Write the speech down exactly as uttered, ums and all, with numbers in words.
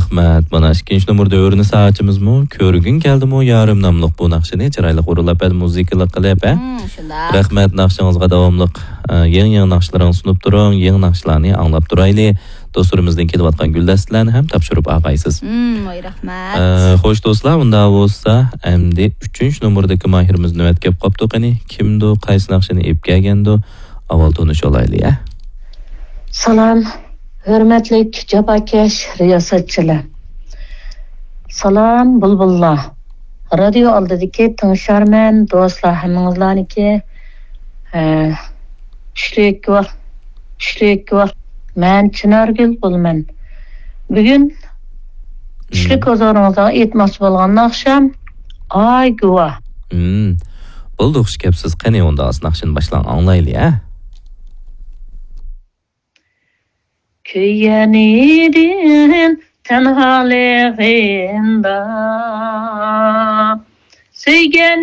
رەھمەت. مانا ئىككىنچى نومۇر دەۋرىنى ساچىمىزمۇ، كۆرگۈڭ كەلدىمۇ يارىم ناملىق بۇ ناخشىنى چىرايلىق ئورۇنلاپ بەردى، مۇزىكىلىق قىلىپ، ھە؟ مم، شۇنداق. رەھمەت، ناخشىڭىزغا داۋاملىق، ئە، يېڭى، يېڭى ناخشىلىرىڭىزنى سۇنۇپ تۇرۇڭ، يېڭى ناخشىلارنى ئاڭلاپ تۇرايلى. دوستلىرىمىزدىن كېلىۋاتقان گۈلدەستىلەرنى ھەم تاپشۇرۇپ ئالغايسىز. مم، ۋاي، رەھمەت. ئە، خوش دوستلار، ئۇندا بولسا ئەمدى ئۈچىنچى نومۇردىكى ماھىرىمىز نۆۋەتكە كېلىپ قاپتۇ. قېنى، كىمدۇ، قايسى ناخشىنى ئېلىپ كەلگەندۇ؟ ئاۋۋال تونۇشۇۋالايلى، ھە؟ سالام، ھۆرمەتلىك جاپاكەش رىياسەتچىلەر. سالام، بۇلبۇللار. رادىيو ئالدىدىكى تىڭشارمەن دوستلار، ھەممىڭىزلارنىڭكى، ئە، چۈشلۈك ۋاق-، چۈشلۈك ۋاق-، مەن چىنارگۈل بولىمەن. بۈگۈن چۈشلۈك ھۇزۇرىڭىزغا ئېيتماقچى بولغان ناخشام ئاي گۇۋاھ. ھىم. بولدى، خۇش كەپسىز. قېنى، ئۇندا ناخشىنى باشلاڭ، ئاڭلايلى، ھە؟ كۆيگەن ئىدىم تەنھالىقىمدا، سۆيگەن